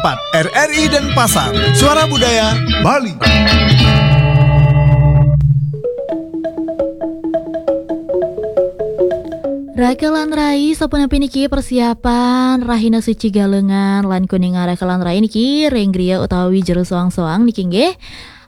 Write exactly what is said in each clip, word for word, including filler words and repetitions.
empat R R I Denpasar, Suara Budaya Bali. Raka lan rai, sapunapi niki persiapan Rahina Suci Galungan lan Kuningan? Raka lan rai niki ring griya utawi jero soang-soang niki nggih.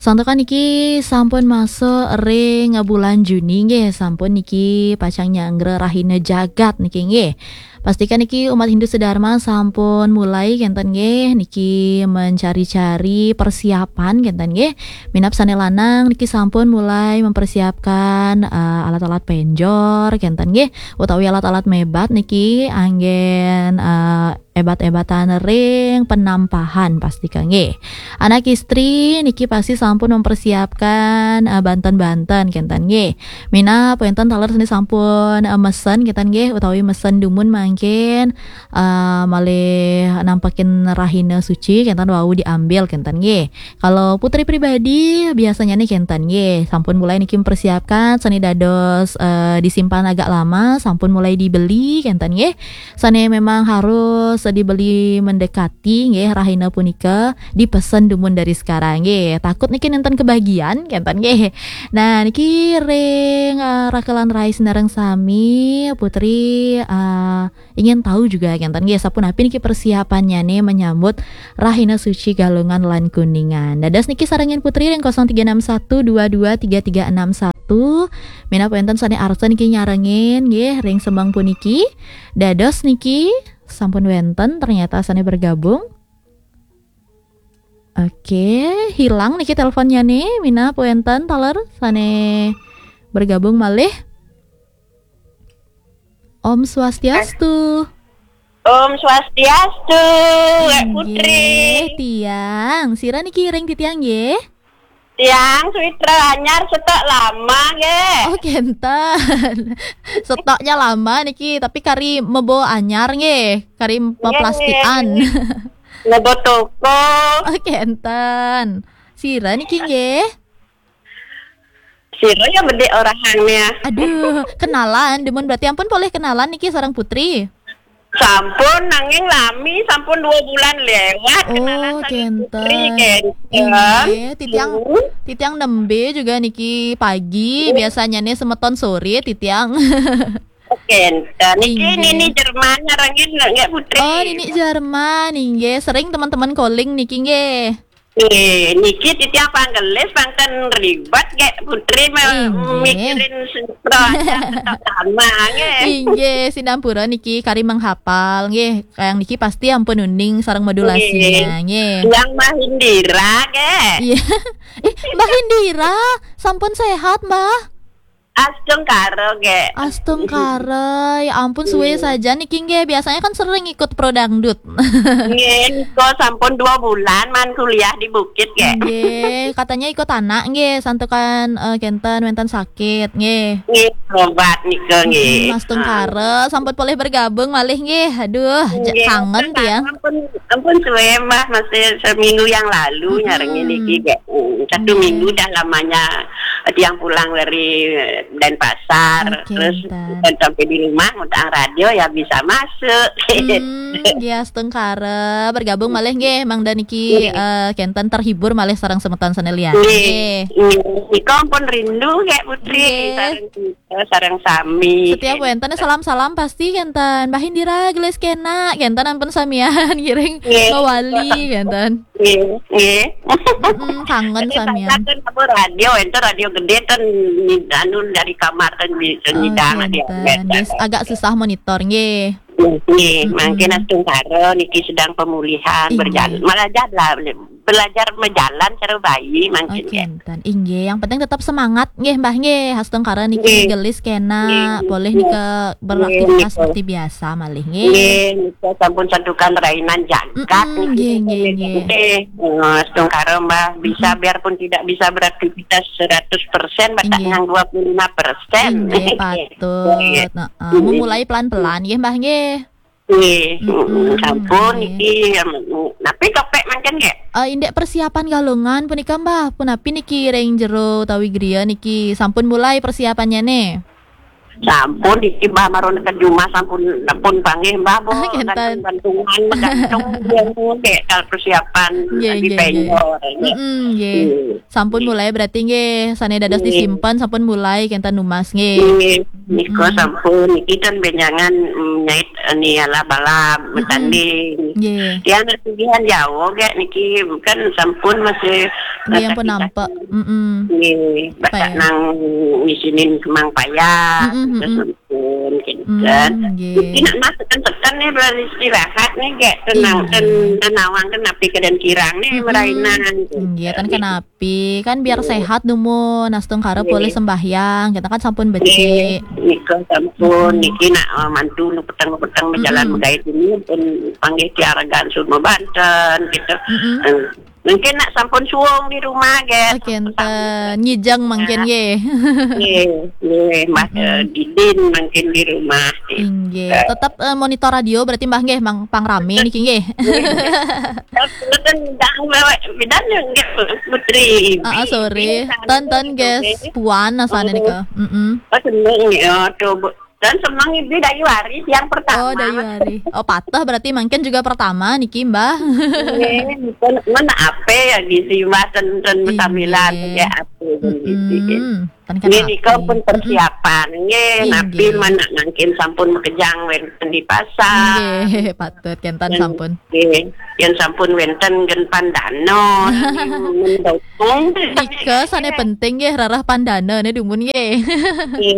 Santukan niki sampun masuk ring bulan Juni nggih, sampun niki pacang nyanggra Rahina Jagat niki nggih. Pastikan niki umat Hindu sedharma sampun mulai kenten nggih niki mencari-cari persiapan kenten nggih. Minab sane lanang niki sampun mulai mempersiapkan, eh, alat-alat penjor kenten nggih, utawi alat-alat mebat niki anggen, eh, ebat-ebatan ring penampahan pastika nggih. Anak istri niki pasti sampun mempersiapkan, eh, banten-banten kenten nggih. Minab wenten taler sane sampun, eh, mesen kenten nggih, utawi mesen dumun mangkin, eh, malih nampekin Rahina Suci kenten wau diambil kenten nggih. Kalau Putri pribadi biasanya nih kenten nggih, sampun mulai niki mempersiapkan sane dados, eh, disimpan agak lama, sampun mulai dibeli kenten nggih. Sane memang harus dibeli mendekati nggih, Rahina punika dipesen dumun dari sekarang nggih. Takut niki nenten kebagian kenten nggih. Nah, niki ring, eh, Raka lan rai sinareng sami, Putri, eh, ingin tahu juga kenten nggih, sapunapi niki persiapannya nih menyambut Rahina Suci Galungan lan Kuningan. Dados niki sarengin Putri ring kosong tiga enam satu dua dua tiga tiga enam satu. Minab wenten sane arsa niki nyarengin nggih ring semeng puniki. Dados niki sampun wenten ternyata sane bergabung. Oke, hilang niki teleponnya nih. Minab wenten taler sane bergabung malih. Om Swastiastu. Om Swastiastu, Wek Putri. Inggih, tiang. Sira niki ring titiang nggih? Tiang Switra Anyar, setok lama nggih. Oh, kenten. Setoknya lama niki, tapi kari mebo anyar nggih, kari nggih, peplastikan. Nggih. Mebo toko. Oh, kenten. Sira niki nggih? Sira ya bedik orahang nih ya. Aduh, kenalan, demun berarti ampun polih kenalan niki sareng Putri. Sampun, nanging lami, sampun dua bulan lewat kenalan. Oh, sareng Putri, kenten. Kenten. Inggih, titiang, hmm, titiang nembe juga niki pagi, hmm, biasanya nih semeton sore titiang. Oh, kenten. Niki, inggih, Nini Jerman nyarengin nggih, Putri? Oh, Nini Jerman, inggih. Sering teman-teman calling niki nggih. Eh, niki titiang panggelis, pang ten ribet, gek Putri me-, inggih, mikirin sutro aja tetap sama, nggih. Inggih, sinampura niki kari menghapal, nggih. Kayang niki pasti ampun uning sareng modulasinya, nggih, nggih. Yang Mbah Indira, gek. Iya. Eh, Mbah Indira, sampun sehat, Mbah? Astungkara, gek. Astungkara, ya ampun, suwe, hmm, saja niki nggih. Biasanya kan sering ikut pro dangdut. Nggih, nika sampun dua bulan man kuliah di Bukit, gek. Nggih, katanya ikut anak nggih, santukan, eh, kenten wenten sakit nggih. Nggih, obat nika nggih. Hmm, astungkara, sampun polih bergabung malih nggih. Aduh, ja-, nggih, kangen tiang. Ampun, ampun suwe, Mbah, masih seminggu yang lalu, hmm, nyarengin niki, gek. Hmm, satu, nggih, minggu dah lamanya tiang pulang dari Denpasar, oh, terus kenten, sampai di rumah ngutang radio ya bisa masuk. Hmm, nggih, astungkara, bergabung malih nggih, mangda niki, nggih, eh, kenten terhibur malih sareng semeton sane liyan. Nggih, nggih. Nggih. Nika ampun rindu, gek Putri, nggih, sareng kita, sareng sami. Setiap wenten salam-salam pasti kenten. Mbah Indira gelis kena, kenten ampun samian ngiring, nggih, mawali, kenten. Nggih, nggih. Mm-mm, kangen samian. Tadi sampun apa radio, ento radio gede ten, ni-, anu, dari kamar ten di-, ten, oh, nyidang, kenten. Nggih, agak susah monitor, nggih. Nggih, mm-mm, mangkin astungkara niki sedang pemulihan, inggih, berjalan, malah jalan, belajar menjalan cara bayi mangkin, oh, nggih. Kenten. Inggih, yang penting tetap semangat, nggih, Mbah, nggih. Astungkara niki, nggih, gelis kena, nggih, polih, nggih, nika beraktivitas, nggih, seperti biasa malih, nggih. Nggih, nika sampun santukan rainan jagat, mm-mm, niki, nggih, nggih, nggih. Nggih. Eh, astungkara, Mbah, bisa, mm-mm, biarpun tidak bisa beraktivitas seratus persen, batak, inggih, nyang dua puluh lima persen. Inggih, patut. Nggih. Heeh, mm-mm, memulai pelan-pelan, nggih, Mbah, nggih. Nggih, mm-mm, mm-mm, sampun, nggih, niki, em, napi topik mangkin, nggih? Eh, indik persiapan Galungan punika, Mbah, punapi niki ring jero utawi griya niki sampun mulai persiapannya nih? Sampun, iki Mbah maron ke jumah sampun, sampun panggih Mbah, Bu. Ah, kenten. Gantung-gantungan, menggantung dia, Bu, kayak kalau persiapan. Nggih, lagi nggih, nggih. Penjor, nggih. Mm-mm, nggih. Nggih. Sampun mulai berarti nggih, sane dados disimpen sampun mulai kenten numas nggih. Nggih, nika sampun, niki kan benjangan, mm, nyait, eh, ni alab-alab, betanding. Nggih. Tiang nak pilihan jauh gak niki, kan sampun masih nggih, ampun nampak. Mm-mm. Nggih, batak nang ngisinin kemang payah, mm-mm, terus mm-mm. Pun, gitu kan. Hmm, nggih. Mungkin nak masuk kan tekan nih, beristirahat nih, gak tenang, iya, ten-, tenawang kan api keadaan kirang nih, mm-mm, merainan, gitu. Nggih, ten kenapi, kan biar sehat dumun, astungkara boleh sembahyang, kita kan sampun becik. Nggih, nika sampun, mm-mm, niki nak, eh, mantu nu peteng-peteng berjalan, mm-mm, begait ini, pun panggih tiaragan semua banten, gitu. Mm-mm. Eh, Mungkin nak sampun suwung di rumah, gak. Oke, enten nyijeng mungkin, nggih. Nggih, nggih, Mas, eh, didin mungkin di rumah, gitu. Inggih. Tetep, eh, monitor radio berarti, Mbah, nggih, mang, pang rame niki, nggih. Nggih. Mboten ndang bawa bidan, nggih, Putri. Ah, ah, sorry. Nggih, ten, ten, nggih, nggih. Puan asane nika. Mm-mm. Oh, seneng, ya, tuh, Bu. Dan semang ibu dayu hari yang pertama. Oh, dayu hari. Oh, patah berarti mungkin juga pertama niki, Mbah. Nggih, pun men ape ya, gisi Mbah, ten, ten, inggih, betamilan ya ape, mm-mm, gitu. Ten. Nggih, nika pun persiapan. Nggih, napi, inggih, menak mangkin sampun makejang wenten di pasar. Nggih, patut kenten. Dan sampun. Nggih, yen sampun wenten gen pandana, mendukung. Nika sane penting nggih, rarah pandana ne dumun nggih. Nggih,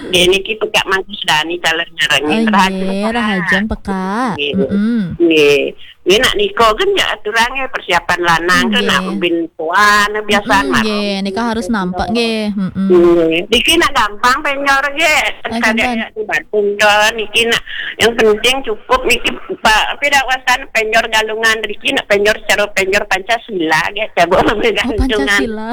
nggih, niki pekak mangku sedani calon nyarengi. Oh, rahajeng nggih, pekak. Rahajeng pekak. Nggih. Mm-mm. Nggih. Nggih, nak nika kan ya aturannya persiapan lanang kan, nggih, nak bin puan biasaan. Mm-mm, mah. Nggih, nika harus nampak nggih. Mm-mm. Nggih. Niki nak gampang penyor nggih. Ah, kadang gampang. Ya di Bandung to, niki nak yang penting cukup niki, Pak, tapi dak wasan penyor galungan riki, nak penyor secara penyor Pancasila, ya, coba. Oh, Pancasila.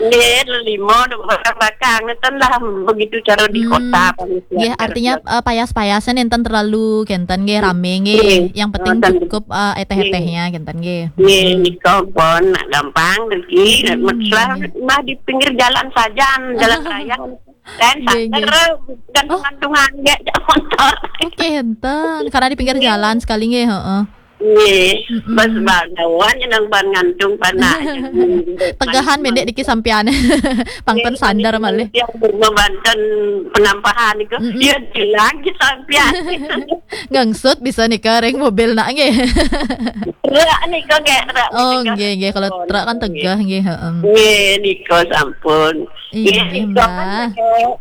Nggih, lima, dua batang bakang, nenten lah, begitu cara di kota, hmm, panitia. Nggih, artinya, eh, payas-payasan enten terlalu kenten nggih, rame nggih. Nggih. Yang penting cukup, eh, eteh-etehnya kenten nggih. Nggih, hmm, nika pun nak gampang riki, hmm, mesra, nggih, mah di pinggir jalan saja, jalan raya. Dan nggih, nggih. Santer, gantung-gantungan, nggih, jak motor. Oke, enten. Karena di pinggir jalan sekali, nggih, heeh. Nggih. Mm-mm. Pas bagawan, nang ban ngantung panah. Tegahan mendek dikit sampean. Pang ten sandar malih. Yang berbebanten penampahan itu, mm-mm, ya, lagi sampean. Ngangsut bisa nika ring mobil nak, nggih. Truk nika, nggih, truk. Oh, nggih, nggih. Kalau truk kan tegah, nggih, heeh. Nggih, nika sampun. Iya, nggih, Mbah.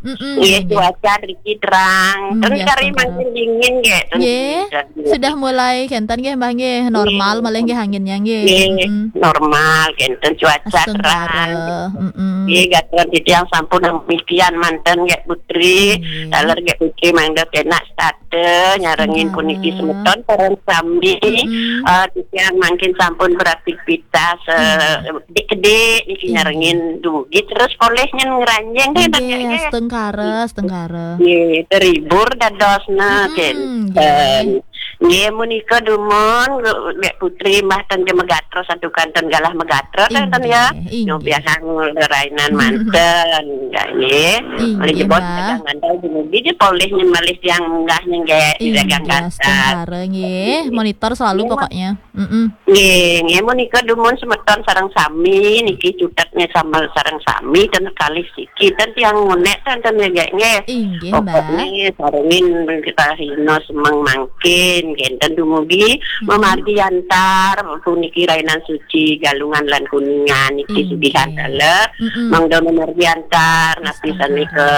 Mm-mm, nggih, nggih. Cuaca riki terang. Hmm, terus biasa kari terang. Makin dingin, nggih. Nggih, sudah mulai kenten, nggih, Mbah, nggih. Normal, nggih, malah, nggih, anginnya, nggih. Nggih, mm-mm, normal, kenten cuaca terang. Astungkara, mm-mm. Nggih, gaturan titiang sampun demikian manten, nggih, Putri. Nggih. Taler, nggih, Putri, mangda kena start. Teh, nyarengin puniki semeton sareng sami. Mm-mm. Eh, titiang mangkin sampun beraktivitas, eh, mm, kedik-kedik niki, iya, nyarengin dugi terus polih nyen ngranjing deh, nggih, nggih. Astungkara, astungkara. Nggih, terhibur dadosna, mm-mm, kenten. Nggih. Nggih, menika dumun, Mbak Putri, Mbah, ten ge megatro santukan ten galah megatro, ten, ten ya. Inggih, inggih. Nyobiahang rainan manten, nggih. Inggih, oleh jebot Mbah. Dagang manten dumugi je polih nyen malih tiang munggah nyen ge di dagang, nggih, kantor. Astungkara, nggih. Monitor selalu pokoknya. Mm-mm. Nggih, nggih, menika dumun semeton sareng sami, niki cutetnya sama sareng sami, ten kalih siki, ten tiang ngonek, ten, ten nggih, nggih. Inggih, Mbah. Pokoknya sarengin kita hino semeng mangkin, kenten dumugi, mm-mm, memargi antar, puniki rainan suci, Galungan lan Kuningan, niki, inggih, sugihan dalu, mm-mm, mangda memargi antar, napi sane ke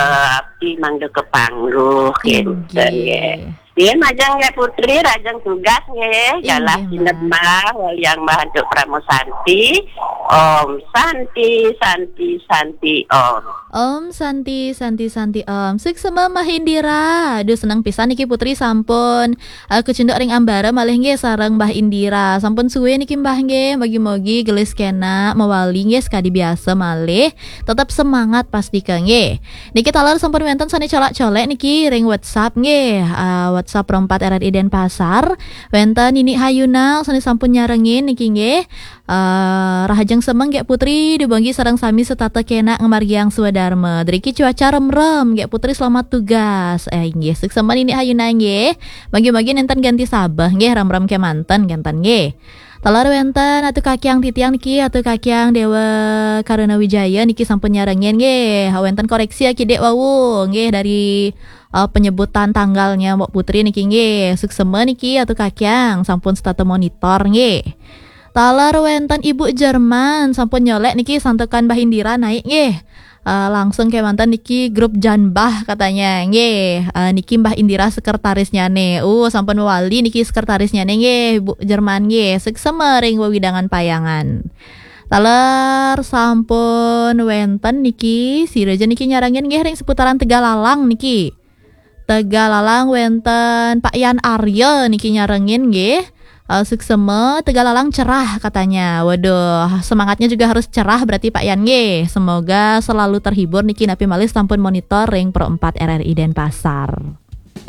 abdi, mangda kepangguh, kenten, inggih, nggih. Nggih, majeng nggih Putri, rajeng tugas nggih. Inggih, galah Mbah. Sineb Mbah, waliang Mbah antuk Parama Santi. Om Santi, Santi, Santi, Om. Om Santi, Santi, Santi, Om. Suksma Mbah Indira. Aduh, seneng pisan niki Putri sampun, eh, kecunduk ring ambara malih nggih sareng Mbah Indira. Sampun suwe niki Mbah nggih, mogi-mogi gelis kena mawali nggih sekadi biasa malih. Tetep semangat pastika nggih. Niki taler sampun wenten sane colak-colek niki ring WhatsApp nggih. Ah, WhatsApp Pro empat R R I Denpasar. Wenten Nini Hayuna sane sampun nyarengin niki nggih. Ah, rahajeng Semeng Gék Putri, dibagi sareng sami setata kénak ngamargiang swadarma. Driki cuaca remrem, Gék Putri selamat tugas. Eh, inggih, suksma Nini Hayuna nggih. Bagi-bagi nénten ganti sabeh nggih, remrem kémanten kénten nggih. Taler wénten Atu Kakiang titiang niki, Atu Kakiang Dewa Karuna Wijaya niki sampun nyarengin nggih. Wénten koreksi akidik wau nggih dari eh, penyebutan tanggalnya Mbok Putri niki nggih. Suksma niki Atu Kakiang sampun setata monitor nggih. Taler wénten Ibu Jerman sampun nyolek niki santukan Mbah Indira naik nggih. Eh, langsung kémanten niki grup Janbah katanya nggih. Eh, niki Mbah Indira sekretarisnya nih. Uh, sampun mewali niki sekretarisnya nih nggih, Bu Jerman nggih. Suksma ring wewidangan payangan. Taler sampun wénten niki, sira ja niki nyarengin nggih ring seputaran Tegalalang niki. Tegalalang wénten Pak Yan Arya niki nyarengin nggih. Eh, suksma, Tegalalang cerah katanya. Waduh, semangatnya juga harus cerah berarti Pak Yan nggih. Semoga selalu terhibur niki napi malih sampun monitor ring Pro empat R R I Denpasar.